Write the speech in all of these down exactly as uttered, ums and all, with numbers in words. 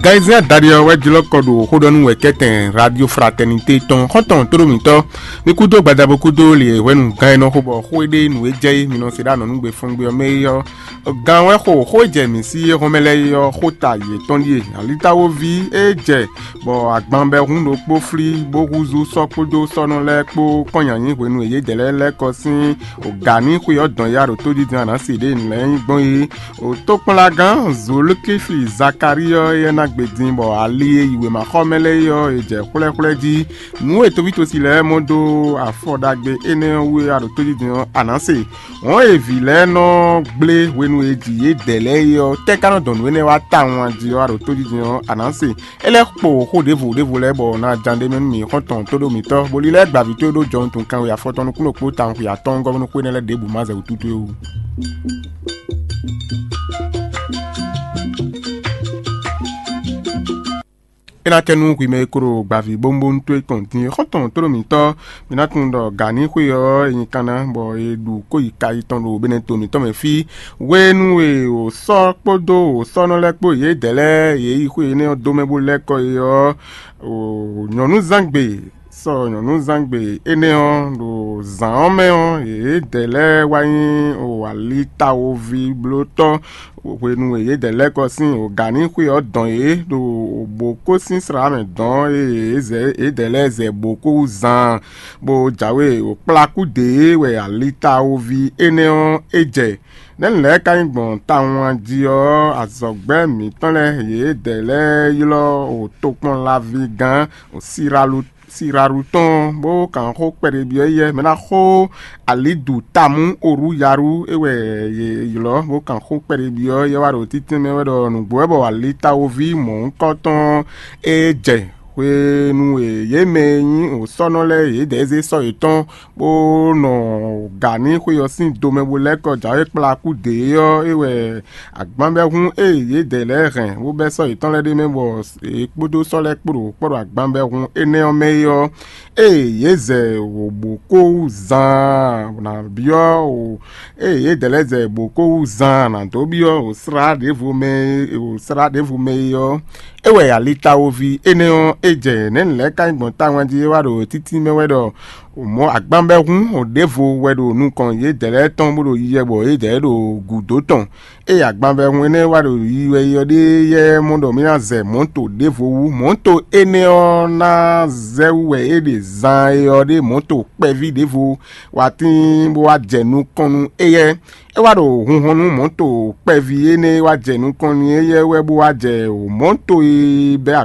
Gayizia Dariɔ wɛ jlɔ́ kɔ ɖo xóɖɔnú wɛ kɛ́tɛn Radio Fraternité tɔn xɔ́ntɔn tóɖómítɔ́ ní kúdó gbadabo kúdó lě hwɛnu gán e nɔ xo bɔ xó e ɖe nǔ e jɛ é mi nɔ se ɖó anɔ̌nugbe fɔ́ngbé ɔ́ mɛ é ɔ́, gán wɛ xo xó e jɛ mǐ sí é hɔn mɛ lɛ́ɛ é ɔ́ xó ta yětɔn ɖíe. Alitawoví e jɛ bɔ agbanbɛhún ɖokpó flí bó húzú sɔ́ kpódó sɔ́nɔ lɛ́ɛ kpó kɔn nyanyí hwenu e yědɛɛ lɛ́ɛ lɛ́ kɔ sín gǎ ní xwe ɔ́ dɔn ya ɖo tójijɔ́n Anasi ɖě nǔ lɛ́ɛ nyí gbɔn é. Wǒ tokpɔnlagán Zulukífi Zakalíɔ é ná gbe din bɔ ali e yi wěmaxɔmɛ lɛ́ɛ é ɔ́, è jɛ xwlɛ́xwlɛ́ jí. Nǔ e toví tosi lɛ́ɛ mɔ dó afɔ ɖagbe énɛ́ ɔ́ wú é wá ɖo tójijɔ́n Anase. Wɔ̌n e vǐ lɛ́ɛ nɔ gblé hwenu e jǐ yědɛɛ lɛ́ɛ é ɔ́, tɛ́ ka nɔ dɔn nǔ énɛ́ wá tawun a jí ɔ́ wá ɖo tójijɔ́n Anase? É lɛ́ kpo xó ɖěvo ɖěvo lɛ́ɛ bɔ ná ján ɖ'é mɛ nú mǐ xɔ́ntɔn tóɖó mǐtɔn, bó lílɛ́ gbavǐ towe ɖó jɔwuntun kanwe afɔtɔn nukúnnú kpó tawun xwe atɔ́ɔ́ngɔ́ nú xwé énɛ́ lɛ́ɛ ɖěbǔ ma zɛ wǔtútú é wú. É ná tɛ́ nú hwi mɛ e ko ɖo gbavǐ bónbónú towe kɔn din xɔ́ntɔn tóɖó mǐtɔn, mi ná tunwun ɖɔ gǎnixwe ɔ́ e nyí kanna bɔ è ɖu kó yi ka yětɔn ɖo Benɛto mǐtɔn mɛ fí. Hwenu e wǒ sɔ́ kpódó wǒ sɔ́nɔ lɛ́ɛ kpó yědɛɛ lɛ́ɛ yě yi xwé énɛ́ ɔ́ dó mɛ bó lɛ́ kɔ é ɔ́, nyɔ̌núzangbe sɔ nyɔ̌núzangbe énɛ́ ɔ́, ɖo zǎn ɔ́ mɛ ɔ́, yědɛɛ lɛ́ɛ wá nyí alitawoví blótɔ́ hwenu e yědɛɛ lɛ́ kɔ sín wǒgánixwe ɔ́ dɔn yě ɖo bǒ kó sín slá mɛ dɔn e yědɛɛ lɛ́ɛ zɛ bǒ kó wú zaan, bó jǎwe wǒ kplá kú dě wɛ alitawoví énɛ́ ɔ́ é jɛ. Nɛ̌ nǔ lɛ́ɛ ka nyí gbɔn tawun a jí ɔ́, azɔ̌gbɛ́ mǐtɔn lɛ́ɛ yědɛɛ lɛ́ɛ ylɔ́ wǒ tokpɔnlaví gán wǒ Siralu Siralu tɔn bó kan xó kpɛɖé byɔ́ yɛ mɛ ná xó alidu tamu oru yaru é wɛ yě ylɔ́ bó kan xó kpɛɖé byɔ́ yɛ wá ɖo títí mɛ wɛ ɖɔ nǔgbó wɛ bɔ alitawoví mɔ̌hunkɔtɔn é jɛ hwenu e yě mɛ e nyí wǒsɔ́nɔ lɛ́ɛ yědɛɛ zé sɔ́ yětɔn bó nɔ gǎ ní xwe ɔ́ sín domɛ bó lɛ́ kɔ jǎwe kplá kú dě ɔ́ é wɛ agbanbɛ́hún e yědɛɛ lɛ́ɛ hɛn bó bɛ́ sɔ́ yětɔn lɛ́ɛ ɖ'é mɛ bɔ yě kpódó sɔ́ lɛ́ɛ kpó ɖo kpɔ́ ɖo agbanbɛ́hún énɛ́ ɔ́ mɛ é ɔ́, ée yě zɛ wǒ bǒ kó wú zaan nǎ byɔ́ wǒ eye yědɛɛ lɛ́ɛ zɛ bǒ kó wú zaan nǎ dó byɔ́ wǒ slá ɖěvo mɛ wǒ slá ɖěvo mɛ é ɔ́, é wɛ alitawoví énɛ́ ɔ́ é jɛ nɛ̌ nǔ lɛ́ɛ ka nyí gbɔn táwun jí é wá ɖo títí mɛ wɛ ɖɔ mɔ̌ agbanbɛ́hún ɖěvo wɛ ɖo nukɔn yědɛɛ lɛ́ɛ tɔn bó ɖo yiyɛ bɔ yědɛɛ ɖo gǔdo tɔn. Ée agbanvɛhún énɛ́ wá ɖo yiyi wɛ yi ɔ́ ɖíe yɛ mɔ ɖɔ mì ná zɛ mɔ̌to ɖěvo wú. Mɔ̌to énɛ́ ɔ́ ná zɛ wú wɛ é ɖe zaan e ɔ́ ɖe mɔ̌to kpɛví ɖěvo wá tíin bó wá jɛ nukɔn nú éyɛ́. É wá ɖo hunhɔn nú mɔ̌to kpɛví énɛ́ e wá jɛ nukɔn nú éyɛ́ wɛ bó wá jɛ mɔ̌to e bɛ́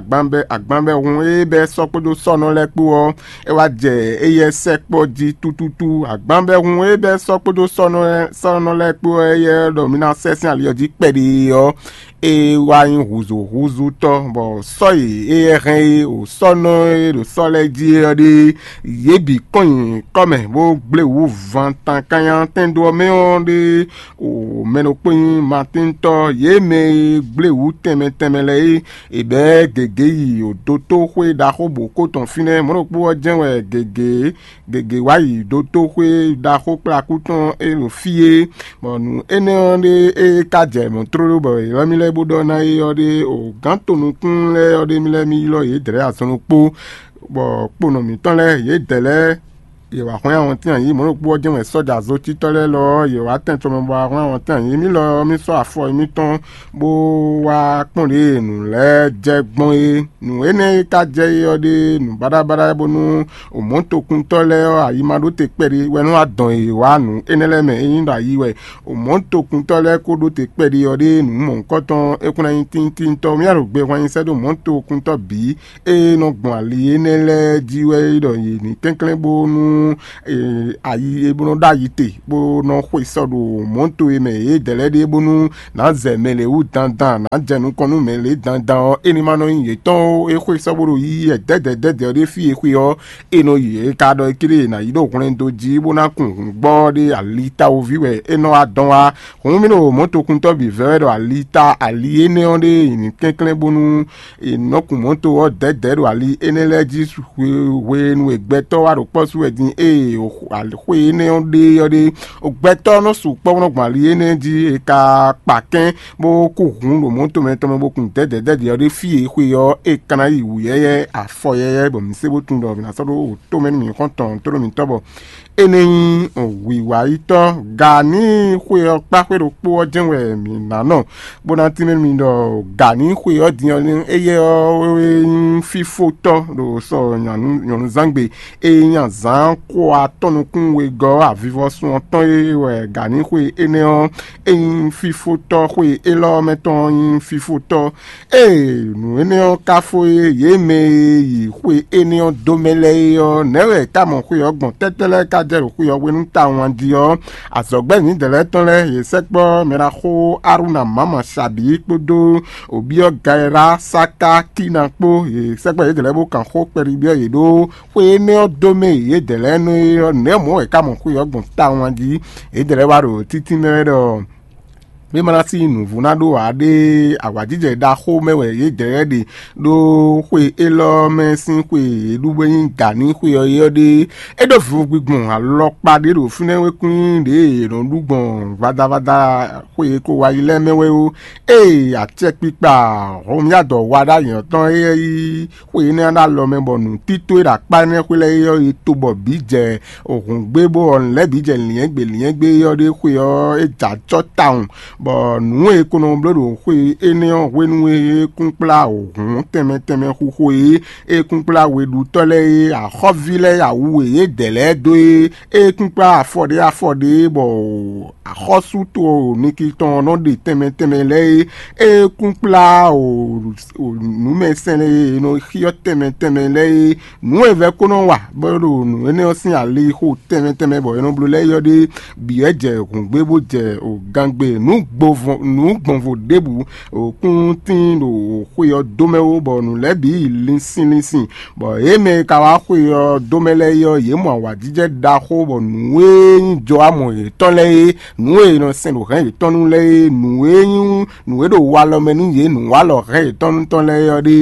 agbanvɛhún e bɛ́ sɔ́ kpódó sɔ́nɔ lɛ́ɛ kpó ɔ́, é wá jɛ éyɛ́ sɛkpɔ́ jí tútútú. Agbanvɛhún e bɛ́ sɔ́ kpódó sɔ́nɔ lɛ́ɛ kpó éyɛ́ ɖɔ mì ná sɛ́ sín ali ɔ́ jí kpɛɖé ɔ́, é wá nyí hǔzúhúzútɔ́, bɔ sɔ́ e éyɛ́ hɛn é o sɔ́nɔ e ɖo sɔ́ lɛ́ɛ jí é ɔ́ ɖíe. Yě bǐ kɔn nyi kɔ́ mɛ bó gblé wǔ van tan kannyá tɛ́ndo ɔ́ mɛ ɔ́ ɖíe. O mɛ ɖokpó nyí Matíntɔ́, yě mɛ e gblé wǔ tɛnmɛ tɛnmɛ lɛ́ɛ é, è bɛ̌ gěgé yi o dotóxwé ɖaxó bǒ kó tɔn fínɛ́. Mɔ̌ ɖokpó ɔ́ jɛ́n wɛ gěgé gěgé wá yi dotóxwé ɖaxó kplakú tɔn e ɖo fí é. Bɔ nǔ énɛ́ ɔ́ ɖé e ka jɛ mɔ̌ tlóló bɔ è ylɔ́ mì lɛ́ɛ bó ɖɔ ná é ɔ́ ɖé o gǎn tonukún lɛ́ɛ ɔ́ ɖé mì lɛ́ɛ mì ylɔ́ yě dlɛ̌ azɔn ɖokpó, bɔ kponɔ mǐtɔn lɛ́ɛ yě dɛ̌ lɛ́ɛ yě wá hwlɛ́n awɔntín ayǐ. Mɔ̌ ɖokpó ɔ́ jɛ́n wɛ sɔ́ja zotítɔ́ lɛ́ɛ lɔ ɔ́, yě wá tɛn tɔn mɛ bɔ wá hwlɛ́n awɔntín ayǐ. Mì lɔ ɔ́, mì sɔ́ afɔ mǐtɔn bó wá kpɔ́n ɖě e nǔ lɛ́ɛ jɛ gbɔn é. Nǔ énɛ́ e ka jɛ é ɔ́ ɖe nǔ baɖabaɖa bónú mɔ̌tokuntɔ́ lɛ́ɛ ɔ́, ayi ma ɖó te kpɛɖé wɛ nɔ wá dɔn yě wá nǔ énɛ́ lɛ́ɛ mɛ. Ényí ɖo ayi wɛ mɔ̌tokuntɔ́ lɛ́ɛ ko ɖó te kpɛɖé ɔ́ ɖe nǔ mɔ̌hunkɔtɔn é kún ná nyí tíntínntɔ́. Mì ɖo gbe hwan nyi sɛ́ dó mɔ̌tokuntɔ́ bǐ e nɔ gbɔn ali énɛ́ lɛ́ɛ jí wɛ é ɖɔ yě ní kɛnklɛ́n bónú ayi e bó nɔ ɖó ayi te bó nɔ xwe sɔ ɖo mɔ̌to e mɛ yědɛɛ lɛ́ɛ ɖe bónú nǎ zɛ mɛ lě wú dandan, nǎ jɛ nukɔn nú mɛ lě dandan ɔ́, é ní ma nɔ nyí yětɔn ó. É xwe sɔ́ bó ɖo yiyi wɛ dɛ̌dɛ̌ dɛ̌dɛ̌ ɔ́ ɖé fí e xwe ɔ́, é nɔ yi é ka ɖɔ é ké ɖe è nǎ yi ɖó hwlɛ́n dó jí bó ná kun hǔn gbɔ ɔ́ ɖé ali tawoví wɛ é nɔ wá dɔn wá. Hǔn mì ɖo mɔ̌tokuntɔ́ bǐ vɛ́ wɛ ɖɔ ali ta ali énɛ́ ɔ́ ɖe è nǐ kɛnklɛ́n bónú è nɔ kun mɔ̌to ɔ́ dɛ̌dɛ̌ ɖo ali énɛ́ lɛ́ɛ jí hwenu e gbɛtɔ́ wá ɖo kpɔ́ sú wɛ din Ée xwe énɛ́ ɔ́ ɖe ɔ́ ɖe, gbɛtɔ́ nɔ sukpɔ́ bó nɔ gbɔn ali énɛ́ jí, è ka kpa kɛ́n bó kú hun ɖo mɔ̌ tɔn mɛ tɔn mɛ bó kun dɛ̌dɛ̌dɛ̌dɛ̌ ɔ́ ɖe fí e xwe ɔ́ è ka ná yi wǔyɛ́yɛ́ afɔ yɛ́yɛ́ bɔ mǐ se bó tunwun ɖɔ mǐ ná sɔ́ ɖó wǒ tomɛ nú mǐ xɔ́ntɔn tó ɖo mǐtɔn bɔ é nɛ́ nyí wǐwáyítɔ́. Gǎní xwe ɔ́ kpá xwé ɖokpó ɔ́ jɛ́n wɛ mǐ ná nɔ, bó ná tínmɛ nú mi ɖɔ gǎní xwe ɔ́ din ɔ́, éyɛ́ ɔ́ é nyí fífótɔ́ ɖo sɔ nyɔ̌nuzángbe. É nyí azǎn xo atɔ́ nukún wegɔ́ avivɔsun ɔ́ tɔn e wɛ gǎní xwe énɛ́ ɔ́, é nyí fífótɔ́. Xwe élɔ́ mɛ tɔn ɔ́ nyí fífótɔ́. Ée nǔ énɛ́ ɔ́ ka fó é, yě mɛ e yi xwe énɛ́ ɔ́ dó mɛ lɛ́ɛ é ɔ́, nɛ̌ wɛ é ka mɔ xwe ɔ́ gbɔn? Tɛ́tɛ́ lɛ́ɛ ka jɛ ɖo xwe ɔ́ hwenu tawun a jí ɔ́, azɔ̌gbɛ́ Mǐdɛɛ lɛ́ɛ tɔn lɛ́ɛ yě sɛkpɔ́ mɛ ɖaxó Aruna Mama Sabi kpódó wǒbyɔ́ Gayla Saka Kína kpó. Yě sɛkpɔ́ yědɛɛ lɛ́ɛ bó kan xó kpɛɖiɖi ɔ́ yě ɖó xwe énɛ́ ɔ́ dó mɛ e yědɛɛ lɛ́ɛ nɔ é ɔ́, nɛ̌ mɔ̌ wɛ é ka mɔ xwe ɔ́ gbɔn tawun a jí? Yědɛɛ lɛ́ɛ wá ɖo títínmɛ wɛ ɖɔ mí ma ná sí nǔvú ná ɖó ǎ ɖé. Awǎjijɛ ɖaxó mɛ wɛ yědɛɛ lɛ́ɛ ɖe, ɖó xwe élɔ́ mɛ sín xwe e ɖu bó nyí gǎní xwe ɔ́ é ɔ́ ɖe. É ɖó vivo gbigbɔn alɔkpa ɖé ɖo fínɛ́ wékwín ɖě è nɔ ɖu gbɔn vadavada xwe e ko wá yi lɛ́ɛ mɛ wɛ ó. Ée acɛkpikpa Hɔnmyadɔ wa ɖó anyǐ ɔ́ tɔn éyɛ́ yí xwe énɛ́ ɔ́ ɖo alɔ mɛ bɔ nǔtító e ɖo akpá énɛ́ xwé lɛ́ɛ é ɔ́ yi to bɔ bǐ jɛ hǔngbé bó ɔ́ lɛ́ bǐ jɛ lyɛ̌ngbě lyɛ̌ngbě é ɔ́ ɖe xwe ɔ́ é jɛ acɔ́ tawun, bɔ nǔ e è ko nɔ bló ɖo xwe énɛ́ ɔ́ hwenu e é kún kplá hǔn tɛnmɛ tɛnmɛ xixo e é kún kplá weɖutɔ́ lɛ́ɛ é, axɔ́ví lɛ́ɛ awú e yě dɛ lɛ́ɛ dó é, é kún kplá afɔ ɖé afɔ ɖé bɔ axɔ́sú to niki tɔn ɔ́ nɔ ɖe tɛnmɛ tɛnmɛ lɛ́ɛ é, é kún kplá nǔmɛsɛn e è nɔ xyɔ́ tɛnmɛ tɛnmɛ lɛ́ɛ é. Nǔ e vɛ́ ko nɔ wa bɔ é ɖo nǔ énɛ́ ɔ́ sín alixo tɛnmɛ tɛnmɛ bɔ è nɔ bló lɛ́ɛ é ɔ́ ɖe bǐ wɛ jɛ hǔngbé bó jɛ gangbe nǔ gbɔnvo ɖěbǔ kún tíin ɖo xwe ɔ́ dó mɛ ó, bɔ nǔ lɛ́ɛ bǐ yi linsin linsin. Bɔ yě mɛ e ka wá xwe ɔ́ dó mɛ lɛ́ɛ é ɔ́, yě mɔ awǎjijɛ ɖaxó, bɔ nǔ e nyí jɔ amɔ yětɔn lɛ́ɛ é, nǔ e è nɔ sɛn ɖo hɛ̌n yětɔn nu lɛ́ɛ é, nǔ e nyí nǔ e ɖo walɔ mɛ nú yě nǔwalɔ hɛ̌n yětɔn nu tɔn lɛ́ɛ é ɔ́ ɖe,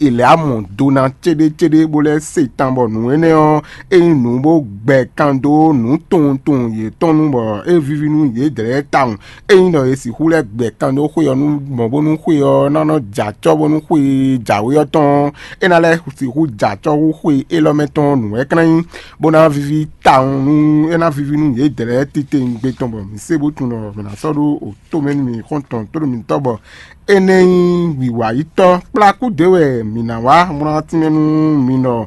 è lɛ̌ amɔ do ná céɖécéɖé bó lɛ́ se tan, bɔ nǔ énɛ́ ɔ́, é nyí nǔ bó gbɛ kan dó nǔ tunwun tunwun yětɔn nu, bɔ é víví nú yědɛɛ tawun. Ényí ɖɔ è sixú lɛ́ gbɛ kan dó xwe ɔ́ nú mɔ̌ bónú xwe ɔ́ ná nɔ jɛ acɔ́ bónú xwe e jǎwe ɔ́ tɔn ɔ́, é ná lɛ́ sixú jɛ acɔ́ hú xwe élɔ́ mɛ tɔn nǔ wɛ é ka ná nyí, bó ná víví tawun nú é ná víví nú yědɛɛ lɛ́ɛ titewungbe tɔn bɔ mǐ se bó tunwun ɖɔ mǐ ná sɔ́ ɖó tomɛ nú mì xɔ́ntɔn tóɖo mitɔ́ bɔ énɛ́ nyí wǐwáyítɔ́ kplákú ɖě wɛ mǐ ná wá, bó ná tínmɛ nú mi ɖɔ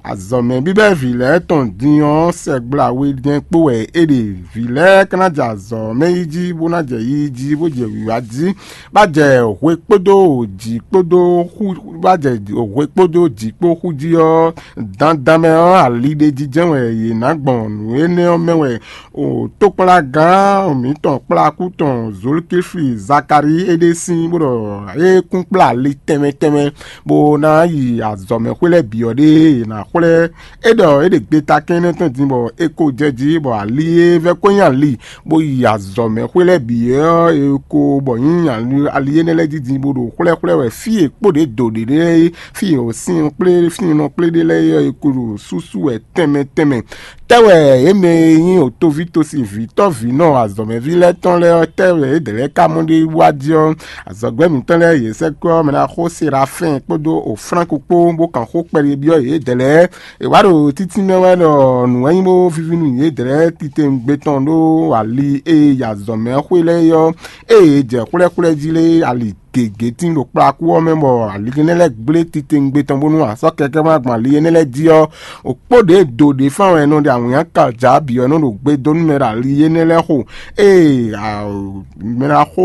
azɔ̌mɛ bíbɛ́ vǐ lɛ́ɛ tɔn din ɔ́, sɛgbla we jɛ́n kpo wɛ é ɖe. Vǐ lɛ́ɛ ka ná jɛ azɔ̌ mɛ yí jí, bó ná jɛ yiyi jí, bó jɛ wǐwá jí, bá jɛ hwe kpódó jǐ kpódó xú, bá jɛ hwe kpódó jǐ kpó xú jí ɔ́, dandan mɛ ɔ́, ali ɖé jijɛ wɛ yě ná gbɔn. Nǔ énɛ́ ɔ́ mɛ wɛ o tókplagán mǐtɔn kplakú tɔn Zolkifli Zakalíi é ɖe sín bó ɖɔ é kún kplá ali tɛnmɛ tɛnmɛ bó ná yi azɔ̌mɛxwé lɛ́ɛ bǐ ɔ́ ɖe è nǎ xwlɛ́. É ɖɔ é ɖe gbeta kɛn énɛ́ tɔn din bɔ é ko jɛ jí, bɔ ali e vɛ́ ko nyí ali bó yi azɔ̌mɛxwé lɛ́ɛ bǐ ɔ́, é ko bɔ nyí ali énɛ́ lɛ́ɛ jí din bó ɖo xwlɛ́xwlɛ́ wɛ fí e kpó ɖě do ɖě lɛ́ɛ é, fí e wǒ sin kplé fínɔ kplé ɖé lɛ́ɛ é ɔ́, é ko ɖo súsú wɛ tɛnmɛ tɛnmɛ. Tɛ́ wɛ yě mɛ e nyí òtoví tosi vǐtɔ́vǐnɔ azɔ̌mɛví lɛ́ɛ tɔn lɛ́ɛ ɔ́, tɛ́ wɛ yědɛɛ lɛ́ɛ ka mɔ ɖ'é wú a jí ɔ́, azɔ̌gbɛ́ mǐtɔn lɛ́ɛ yě sɛkpɔ́ mɛ ná xó Serafɛ́n kpódó Oflánku kpó bó kan xó kpɛɖé byɔ́ yědɛɛ lɛ́ɛ. È wǎ ɖo títínmɛ wɛ ɖɔ nǔ wɛ nyí bó víví nú yědɛɛ lɛ́ɛ titewungbe tɔn ɖó ali e yi azɔ̌mɛ xwé lɛ́ɛ é ɔ́, ée è jɛ xwlɛ́xwlɛ́ jí lé ali gěgé tín ɖo kplakú ɔ́ mɛ, bɔ ali énɛ́ lɛ́ɛ gblé titewungbe tɔn bónú asɔ́ kɛkɛ́ ma gbɔn ali énɛ́ lɛ́ɛ jí ɔ́, òkpó ɖě do ɖě fán wɛ è nɔ ɖe awǐnnya kaja bǐ ɔ́ nɔ ɖo gbe dó nú mɛ ɖo ali énɛ́ lɛ́ɛ xo. Ée mɛ ná xó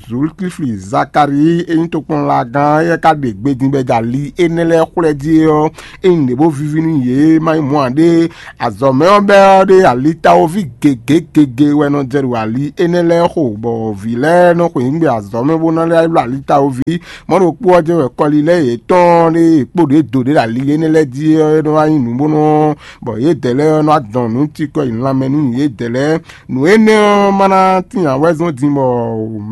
Zolkifli Zakalíi e nyí tokpɔnlagán éyɛ́ ka ɖe gbe din bɔ é jɛ ali énɛ́ lɛ́ɛ xwlɛ́ jí é ɔ́, é nyí nǔɖé bó víví nú yě, má nyí mɔ̌ ǎ ɖé. Azɔ̌mɛ ɔ́ bɛ́ ɔ́ ɖe ali tawoví gěgé gěgé wɛ nɔ jɛ ɖo ali énɛ́ lɛ́ɛ xo, bɔ vǐ lɛ́ɛ nɔ xweyǐgbe azɔ̌mɛ bó ná lɛ́ ylɔ́ ali Tawoví. Mɔ̌ ɖokpó ɔ́ jɛ́n wɛ kɔlilɛ́ yětɔn ɖé e kpó ɖě do ɖě ɖo ali énɛ́ lɛ́ɛ jí ɔ́ é nɔ wá nyí nǔ bó nɔ́ bɔ yědɛɛ lɛ́ɛ ɔ́ nɔ wá dɔn nǔ cikɔ yi lanmɛ nú yědɛɛ lɛ́ɛ. Nǔ énɛ́ ɔ́ ma ná tín ǎ wɛ zɔ́n din bɔ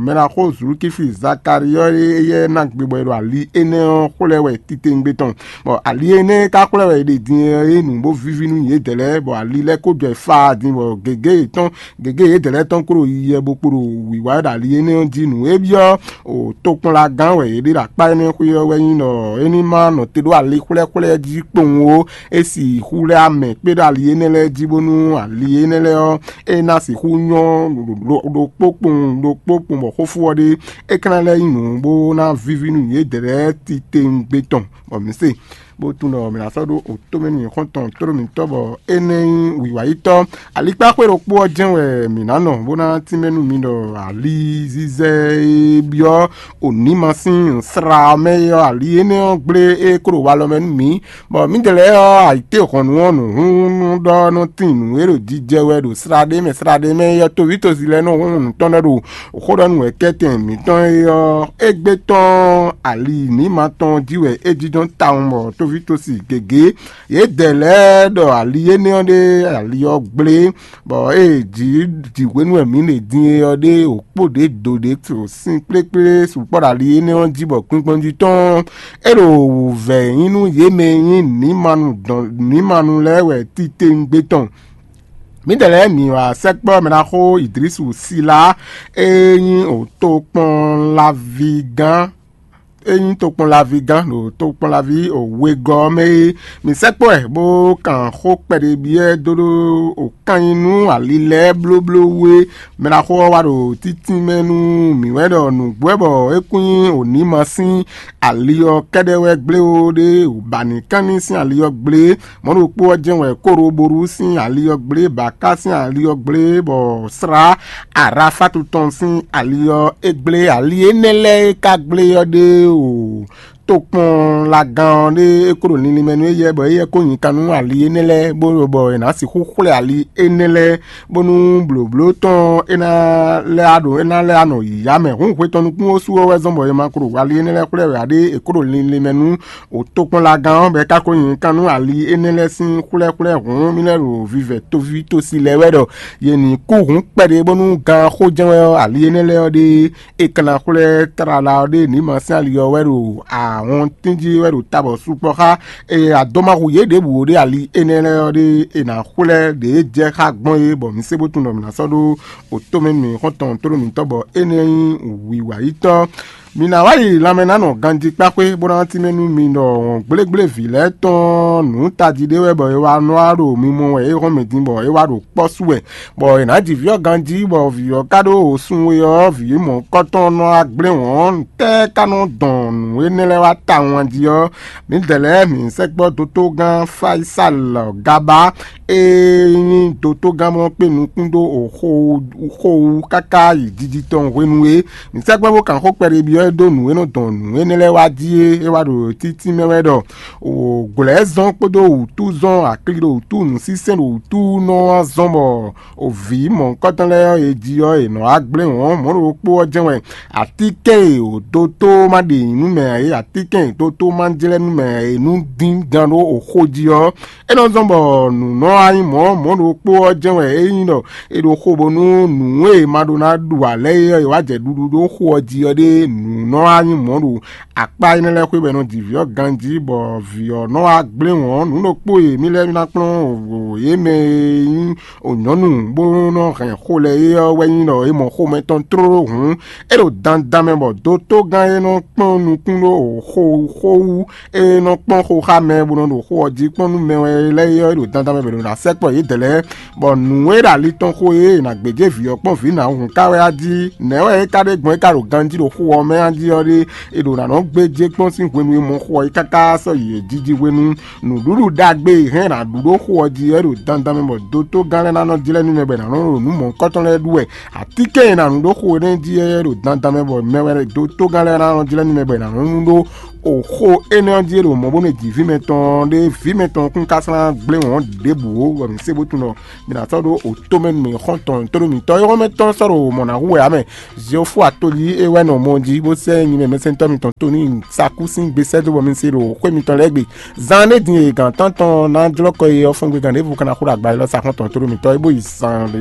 mɛɖaxó Zulukifi Zakali ɔ́ éyɛ́ ná gbe bɔ è ɖo ali énɛ́ ɔ́ xwlɛ́ wɛ titewungbe tɔn. Bɔ ali énɛ́ ka xwlɛ́ wɛ è ɖe din é nǔ bó víví nú yědɛɛ lɛ́ɛ, bɔ ali lɛ́ɛ ko jɔ e faa din bɔ gěgé yětɔn gěgé yědɛɛ lɛ́ɛ tɔn kpo ɖo yiyi bó kpo ɖo wǐwá ɖo ali énɛ́ ɔ́ jí. Nǔ e byɔ́ o tokpɔnlagán wɛ yě ɖe ɖo akpá énɛ́ xwé ɔ́ wɛ nyí ɖɔ é ní ma nɔ te ɖó ali xwlɛ́xwlɛ́ jí kpowun ó. É sixú lɛ́ amɛ kpé ɖo ali énɛ́ lɛ́ɛ jí bónú ali énɛ́ lɛ́ɛ ɔ́, é ná sixú nyɔ́ ɖokpó kpowun ɖokpó kpowun bɔ xófó ɔ́ ɖe é ka ná lɛ́ nyí nǔ bó ná víví nú yědɛɛ lɛ́ɛ titewungbe tɔn. Bɔ mǐ se bó tunwun ɖɔ mǐ ná sɔ́ ɖó otomɛ nú nyǐkɔ tɔn tlóló mǐtɔn bɔ é ná nyí wǐwayítɔ́. Alikpáxwé ɖokpó ɔ́ jɛ́n wɛ mǐ ná nɔ bó ná tínmɛ nú mi ɖɔ alizizɛ e byɔ́ onǐma sín sla ɔ́ mɛ é ɔ́, ali énɛ́ ɔ́ gblé é kó ɖo walɔ mɛ nú mǐ, bɔ mǐdɛɛ lɛ́ɛ ɔ́, ayǐtéhɔ̌nnu ɔ́ nǔhúnnú ɖɔ nɔ tín nǔ e ɖo jijɛ wɛ ɖo sla ɖé mɛ sla ɖé mɛ é ɔ́, toví tosi lɛ́ɛ nɔ hún nǔ tɔn lɛ́ɛ ɖo xó ɖɔ nú wɛ kɛ́tɛn mǐtɔn é ɔ́, égbé tɔn ali nǐma tɔn jí wɛ é jínjɔ́n tawun bɔ tóví tosi gěgé. Yědɛɛ lɛ́ɛ ɖɔ ali énɛ́ ɔ́ ɖé ali ɔ́ gblé, bɔ ée jǐ jǐhwenu wɛ mǐ ɖe din é ɔ́ ɖé wǒ kpó ɖě dǒ ɖě sin kplékplé sukpɔ́ ɖo ali énɛ́ ɔ́ jí bɔ kpinkpɔn jí tɔn é ɖo wǔvɛ́ nyí nú yě mɛ e nyí nǐmanu dɔn nǐmanu lɛ́ɛ wɛ titewungbe tɔn. Mǐdɛɛ lɛ́ɛ mǐ wá sɛkpɔ́ mɛ ná xó Idlísu Silá e nyí tokpɔnlaví gán e nyí tokpɔnlaví gán ɖo tokpɔnlaví wegɔ́ ɔ́ mɛ é. Mǐ sɛkpɔ́ ɛ bó kan xó kpɛɖé byɔ́ ɛ dó ɖó wǒ kan nyi nú ali lɛ́ɛ blóbló wú é. Mɛ ná xó ɔ́ wá ɖo títínmɛ nú mǐ wɛ ɖɔ nǔgbó wɛ bɔ é kún nyí wǒ ní ma sín ali ɔ́ kɛ́ɖɛ́ wɛ gblé ó ɖé wǒ ba nǐ kán ní sín ali ɔ́ gblé. Mɔ̌ ɖokpó ɔ́ jɛ́n wɛ Kóroboru sín ali ɔ́ gblé, Baká sín ali ɔ́ gblé, bɔ Slá Arafatu tɔn sín ali ɔ́ é gblé. Ali énɛ́ lɛ́ɛ e ka gblé ɔ́ ɖé o tokpɔnlagán ɔ́ ɖé é kó ɖo linlin mɛ nú éyɛ́, bɔ éyɛ́ kó nyi kan nú ali énɛ́ lɛ́ɛ, bó ɖo bɔ è nǎ sixú xwlɛ́ ali énɛ́ lɛ́ɛ, bónú blǒbló tɔn é ná lɛ́ ɖo é ná lɛ́ nɔ yǐyá mɛ. Hǔn hwe tɔn nukún ɔ́ su ɔ́ wɛ zɔ́n bɔ è ma ko ɖo ali énɛ́ lɛ́ɛ xwlɛ́ wɛ ǎ ɖé, è kó ɖo linlin mɛ nú o tokpɔnlagán ɔ́, bɔ é ka ko nyi kan nú ali énɛ́ lɛ́ɛ sín xwlɛ́xwlɛ́ hǔn mì lɛ́ ɖo vivɛ tóví tosi lɛ́ɛ wɛ ɖɔ yě ní kú hǔn kpɛɖé bónú gan xó jɛ́n wɛ ɔ́, ali énɛ́ lɛ́ɛ ɔ́ ɖe é ka ná xwlɛ́ tlala ɔ́ ɖe nǐ ma sín ali ɔ́ wɛ ɖo ahɔntín jí wɛ ɖo tabɔ sukpɔ́ xá. Eye adɔmahu yě ɖěbǔ ɖe ali énɛ́ lɛ́ɛ ɔ́ ɖe è nǎ xwlɛ́ ɖě jɛ xá gbɔn é, bɔ mǐ se bó tunwun ɖɔ mǐ ná sɔ́ ɖó otomɛ nú mǐ xɔ́ntɔn tlóló mǐtɔn bɔ énɛ́ nyí wǐwayítɔ́. Mi ná wá yi lanmɛ ná nɔ ganjí kpáxwé bó ná tínmɛ nú mi ɖɔ wɔ̌n gblégblé vǐ lɛ́ɛ tɔn nǔ tají ɖé wɛ bɔ é wá nɔ wá ɖo mi mɔ wɛ é hɔn mɛ din bɔ é wá ɖo kpɔ́ sú wɛ, bɔ è nǎ ji vǐ ɔ́ ganjí bɔ vǐ ɔ́ ka ɖó sun we ɔ́, vǐ mɔ̌hunkɔtɔn nɔ wá gblé wɔ̌n. Tɛ́ ka nɔ dɔn nǔ énɛ́ lɛ́ɛ wá tawun jí ɔ́, mǐdɛɛ lɛ́ɛ mǐ sɛkpɔ́ dotogán Fáyisalɔ Gabá e nyí dotogán mɔ kpé nukún dó xo wú káká yi jiji tɔn hwenu e mǐ sɛkpɔ́ bó kan xó kpɛɖé byɔ́ ɛ dó nǔ e nɔ dɔn nǔ énɛ́ lɛ́ɛ wá jí é, é wá ɖo títí mɛ wɛ ɖɔ: Glɛ̌zɔn kpódó wǔtúzɔn, akli ɖo wǔtú, nǔsínsɛ́n ɖo wǔtú nɔ wá zɔ́n bɔ vǐ mɔ̌hunkɔtɔn lɛ́ɛ ɔ́, è ji ɔ́, è nɔ wá gblé wɔ̌n mɔ̌ ɖokpó ɔ́ jɛ́n wɛ. Atínkɛn e dotó ma ɖe nǔ mɛ ǎ é, atínkɛn e dotó ma jlɛ́ nú mɛ ǎ é, nú dín gán ɖó oxó jí ɔ́, é nɔ zɔ́n bɔ nǔ nɔ wá nyí mɔ̌ mɔ̌ ɖokpó ɔ́ jɛ́n wɛ é nyí ɖɔ è ɖo xo bónú nǔ e è ma ɖó ná ɖu ǎ lɛ́ɛ é ɔ́, è wá jɛ ɖuɖu ɖó xo ɔ́ jí ɔ́ ɖé nǔ nɔ wá nyí mɔ̌ ɖo akpá énɛ́ lɛ́ɛ xwé bɔ è nɔ ji vǐ ɔ́ ganjí, bɔ vǐ ɔ́ nɔ wá gblé wɔ̌n nǔ ɖokpó e mì lɛ́ɛ ná kplɔ́n yě mɛ e nyí nyɔ̌nu bó nɔ hɛn xo lɛ́ɛ é ɔ́ wɛ nyí ɖɔ è mɔ xomɛ tɔn tlóló hǔn, é ɖo dandan mɛ bɔ dotogán e nɔ kpɔ́n nukún ɖó xo xó wú, é nɔ kpɔ́n xo xá mɛ bó nɔ ɖo xo ɔ́ jí kpɔ́n nú mɛ wɛ lɛ́ɛ é ɔ́, é ɖo dandan mɛ bɔ è nɔ ná sɛkpɔ yědɛɛ lɛ́ɛ. Bɔ nǔ e ɖo ali tɔn xo e è nǎ gbéjé vǐ ɔ́ kpɔ́n vǐ nǎ hǔn ka wɛ á jí? Nɛ̌ wɛ é ka ɖe gbɔn é ka ɖo ganjí ɖo xo ɔ́ mɛ á jí ɔ́ ɖé? È ɖo ná nɔ gbéjé kpɔ́n sín hwenu e mɔ xo ɔ́ yi káká sɔ́ yi è jiji hwenu. Nǔɖuɖu ɖagbe e hɛn è nǎ ɖu ɖó xo ɔ́ jí ɔ́ ɖo dandan mɛ bɔ dotogán lɛ́ɛ ná nɔ jlɛ́ nú mɛ bɔ è nǎ nɔ ɖo nǔ mɔ̌hunkɔtɔn lɛ́ɛ ɖu wɛ. Atínkɛn e è nǎ nu ɖó xo énɛ́ jí ɔ́ ɖo dandan mɛ bɔ mɛ wɛ dotogán lɛ́ɛ ná nɔ jlɛ́ nú mɛ bɔ è nǎ nɔ nu ɖó o xo énɛ́ ɔ́ jí e ɖo mɔ̌ bónú è ji vǐ mɛtɔn ɖé vǐ mɛtɔn kún ka slán gblé wɔ̌n ɖěbǔ ó, bɔ mǐ se bó tunwun ɖɔ mǐ ná sɔ́ ɖó o tomɛ nú mǐ xɔ́ntɔn tóɖó mǐtɔn e xɔ́mɛ tɔn sɔ́ ɖo mɔ̌ ná hu wɛ ǎ mɛ. Ziɔ́fú atolí é wɛ nɔ mɔ jí Ó sɛ́ nyi mɛ mɛsɛntɔ́ mitɔn tó ní sakú sín gbe sɛ́ dó bɔ mi se ɖo xwé mitɔn lɛ́ɛ gbe. Zan ɖé din e gǎn tántɔn ná jlɔ́ kɔ e ɔ́ fɔ́n gbe gǎn ɖěvo ka ná xo ɖo agba élɔ́ sa xɔ́ntɔn tó ɖo mitɔn é bó yi zan ɖé.